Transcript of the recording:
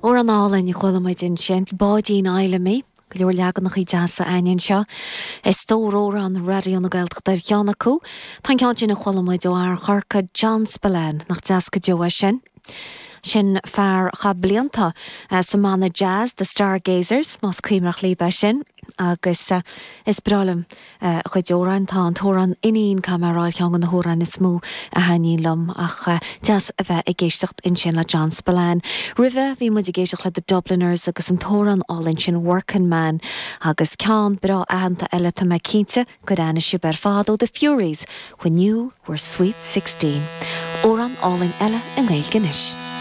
Amhrán álainn a chuala muid ansin, Báidín Fheidhlimidh. Go leor leaganachaí deasa a'ainn anseo. Is stór amhrán Raidió na Gaeltachta ar cheann acu. Tá an ceann sin a chuala muid ó fhear Chorcaí, John Spillane, nach deas go deo é sin. Sin fear a chaith blianta sa mbanna jazz The Stargazers, más cuimhneach libh é sin, agus is breá liom a chuid amhráin. Tá an t-amhrán 'Iníon', caithfidh mé a rá, ar cheann de na hamhráin is mó a thaitníonn liom, ach deas a bheith ag éisteacht ansin le John Spillane. Roimhe, bhí muid ag éisteacht le The Dubliners agus an t-amhrán álainn sin 'Workin' Man' agus ceann breá aitheanta eile, tá mé cinnte gur aithnigh sibh ar fad ó The Fureys, 'When You Were Sweet 16. Amhrán álainn eile i nGaeilge anois.